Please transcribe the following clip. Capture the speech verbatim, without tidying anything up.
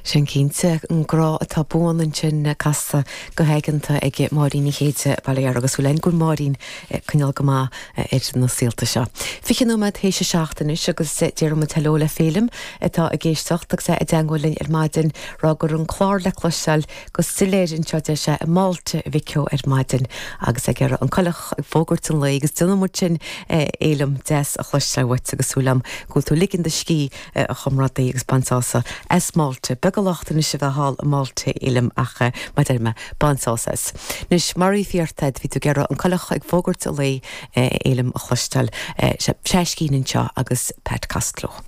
Sin cinnte an grá atá buan ansin casta go haigeanta ag Máirín Ní Chéide Baile agus bhfuil go Máirín coinneáil go maith ar na saolta seo. Fiche nóiméad théis a seacht anois agus déarfaidh muid hello le Féilim atá ag éisteacht agus é i dteagmháil linn ar maidin rá gur an clár le cloisteáil go soiléir anseo deir sé i Máilte Mhic Eo ar maidin agus ag iarraidh an coileach ag fógairt an lae agus déanfaidh muid sin Fhéilim deas a chloisteáil uait agus súil agam go bhfuil tú ligean do scíth a chomrádaí agus bain sásamh as Máilte. Beag locht anois a bheith thall i Máilte Fhéilim ach mar deir mé bain sásamh as. Anois mar a bhí ort bhí tú ag iarraidh an coileach ag fógairt an lae Fhéilim a chloisteáil Seiscín anseo agus Pat Costello.